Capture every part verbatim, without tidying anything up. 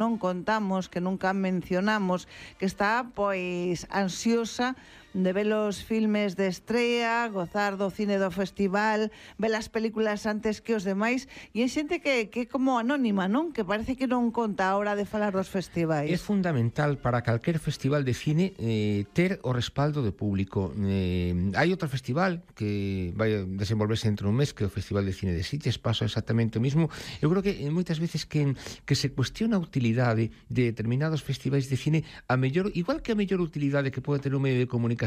non contamos, que nunca mencionamos, que está pois ansiosa de ver os filmes de estrea, gozar do cine do festival, ver as películas antes que os demais, e é xente que, que é como anónima, non? Que parece que non conta a hora de falar dos festivais. É fundamental para calquer festival de cine eh, ter o respaldo do público. Eh, hai outro festival que vai desenvolverse entre un mes, que é o Festival de Cine de Sitges, pasa exactamente o mismo. Eu creo que eh, moitas veces que, que se cuestiona a utilidade de determinados festivais de cine, a mellor, igual que a mellor utilidade que pode ter un medio de comunicación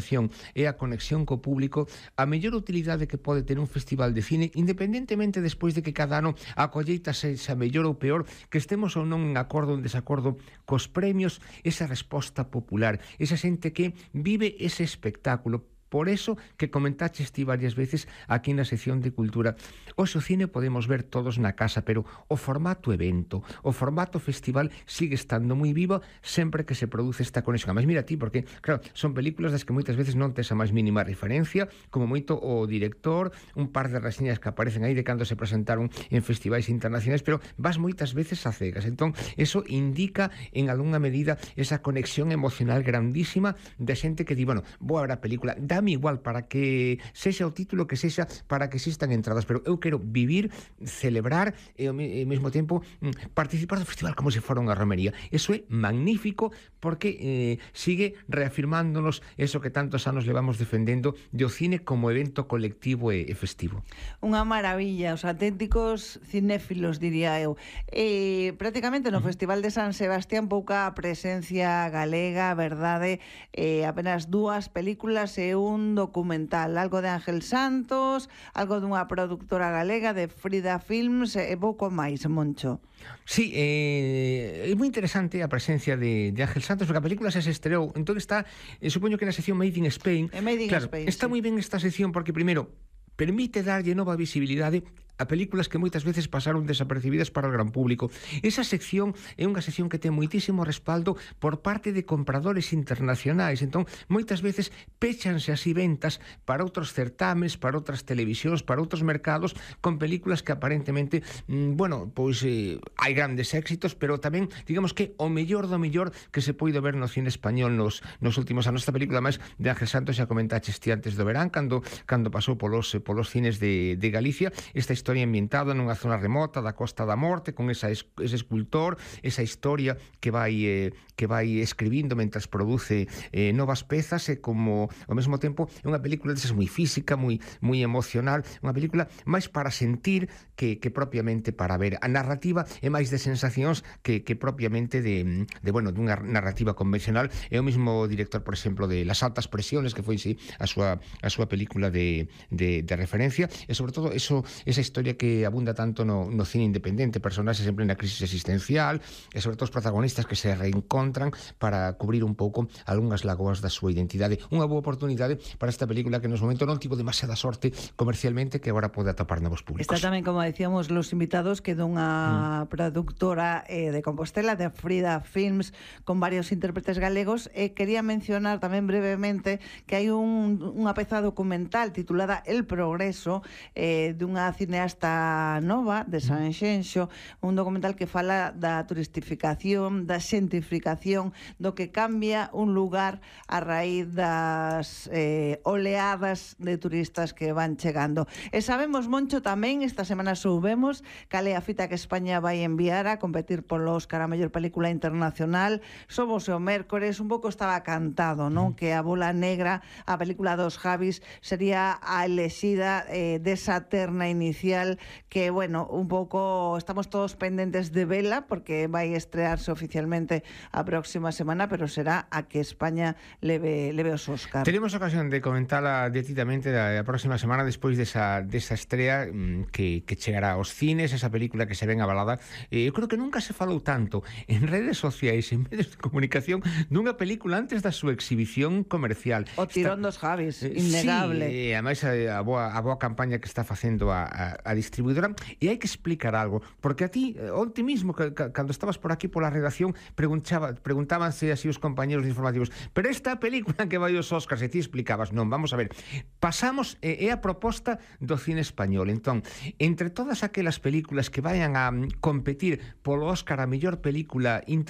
é a conexión co público, a mellor utilidade que pode ter un festival de cine, independentemente despois de que cada ano a colleita sexa mellor ou peor, que estemos ou non en acordo ou en desacordo cos premios, esa resposta popular, esa xente que vive ese espectáculo. Por eso que comentaches ti varias veces aquí na sección de cultura, hoxe o cine podemos ver todos na casa, pero o formato evento, o formato festival sigue estando moi vivo sempre que se produce esta conexión. Mas mira ti, porque, claro, son películas das que moitas veces non tes a máis mínima referencia, como moito o director, un par de reseñas que aparecen aí de cando se presentaron en festivais internacionais, pero vas moitas veces a cegas. Entón, eso indica en algunha medida esa conexión emocional grandísima de xente que di, bueno, vou a ver a película, dá igual para que sexa o título que sexa, para que existan entradas, pero eu quero vivir, celebrar e ao mesmo tempo participar do festival como se fora unha romería. Eso é magnífico porque eh, sigue reafirmándonos eso que tantos anos levamos defendendo do cine como evento colectivo e, e festivo. Unha maravilla, os auténticos cinéfilos, diría eu. E, prácticamente no uh -huh. Festival de San Sebastián pouca presencia galega, verdade, eh, apenas dúas películas e un un documental, algo de Ángel Santos, algo dunha productora galega de Frida Films e pouco máis, Moncho. Sí, eh, é moi interesante a presencia de, de Ángel Santos, porque a película se estreou, entón está, eh, supoño que na sección Made in Spain. E Made in claro, Spain, está sí. moi ben esta sección porque, primeiro, permite darlle nova visibilidade a películas que moitas veces pasaron desapercibidas para o gran público. Esa sección é unha sección que ten moitísimo respaldo por parte de compradores internacionais. Entón, moitas veces péchanse así ventas para outros certames, para outras televisións, para outros mercados, con películas que aparentemente, mmm, bueno, pois eh, hai grandes éxitos, pero tamén, digamos que o mellor do mellor que se poido ver no cine español nos, nos últimos anos. Esta película máis de Ángel Santos, xa comentaches ti antes do verán, cando, cando pasou polos, polos cines de, de Galicia, esta historia ambientada nunha zona remota da Costa da Morte, con esa, ese escultor, esa historia que vai eh, que vai escribindo mentras produce eh, novas pezas, e como ao mesmo tempo é unha película desas moi física, moi moi emocional, unha película máis para sentir que, que propiamente para ver. A narrativa é máis de sensacións que, que propiamente de, de bueno, dunha narrativa convencional. É o mesmo director, por exemplo, de Las altas presiones, que foi sí, a súa a súa película de, de, de referencia, e sobre todo eso, esa historia que abunda tanto no, no cine independente, personaxes sempre na crisis existencial, e sobre todo os protagonistas que se reencontran para cubrir un pouco algunhas lagoas da súa identidade. Unha boa oportunidade para esta película que nos momento non tivo demasiada sorte comercialmente, que agora pode atopar novos públicos. Está tamén, como decíamos, Los Invitados, que dunha mm. productora eh, de Compostela, de Frida Films, con varios intérpretes galegos, e eh, quería mencionar tamén brevemente que hai un, unha peza documental titulada El Progreso, eh, dunha cineasta nova de Sanxenxo, un documental que fala da turistificación, da xentificación, do que cambia un lugar a raíz das eh, oleadas de turistas que van chegando. E sabemos, Moncho, tamén esta semana soubemos cal é a fita que España vai enviar a competir polo Óscar a mellor película internacional. Somos o mércores, un pouco estaba cantado, non? Que a Bola Negra, a película dos Javis, sería a elexida eh, desa terna inicial que, bueno, un pouco estamos todos pendentes de vela, porque vai estrearse oficialmente a próxima semana, pero será a que España leve, leve os Óscar. Tenemos ocasión de comentarla detidamente a, a próxima semana despois desa, desa estrea mmm, que, que chegará aos cines, esa película que se ven avalada. Eh, eu creo que nunca se falou tanto en redes sociais, en medios de comunicación, dunha película antes da súa exhibición comercial. O tirón está, dos Javis, innegable. Sí, e ademais a, a, boa, a boa campaña que está facendo a, a, a distribuidora. E hai que explicar algo, porque a ti, onte mismo, que, que, cando estabas por aquí pola redacción, preguntaba, preguntábanse así os compañeros informativos, pero esta película que vai aos Óscars, e ti explicabas, non, vamos a ver, pasamos, é a proposta do cine español. Entón, entre todas aquelas películas que vayan a competir polo Óscar a mellor película internacional,